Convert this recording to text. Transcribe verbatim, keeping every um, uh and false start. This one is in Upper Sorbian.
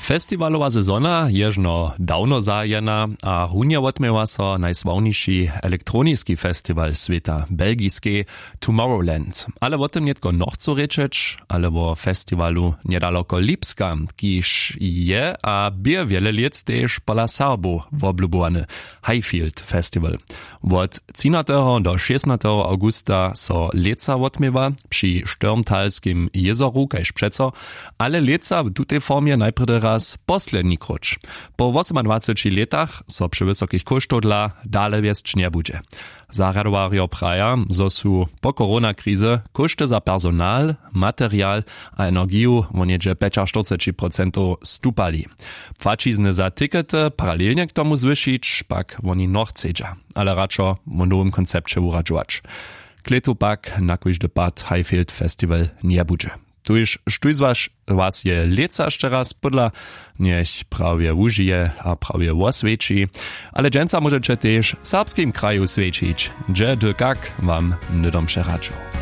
Festiwalowa sezona je žno dawno zahajena a runje wotměła so najsławniši elektroniski festiwal swěta, belgiskej Tomorrowland. Ale wo tym nětko nochcu rěčeć, ale wo festiwalu njedaloko lipska, kiž je a bě wjele lět tež pola Serbow woblubowany, Highfield Festival. Wot třinateho do šěsnateho awgusta so lětsa wotměwa při štyrmtalskim jězoru kaž přeco, ale lětsa w tutej formje najprjedy raz posledni króć. Po wosomadwaceći lětach so při wysokich kóštow dla dale wjesć njebudźe. Zarjadowarjo praja, zo su po koronakrize kóšty za personal, material a energiju wo něhdźe pjećaštyrceći procentow stupali. Płaćizny za tikety paralelnje k tomu zwyšić pak woni nochcedźa, ale radšo wo nowym koncepće wuradźować. Klětu pak na kóždy pad Highfield Festival njebudźe. Tuž, štó z was je lětsa šće raz pódla, njech prawje wužije a prawje woswjeći. Ale dźensa móžeće tež w serbskim kraju swjećić, hdźe dy kak wam hnydom přeradźu.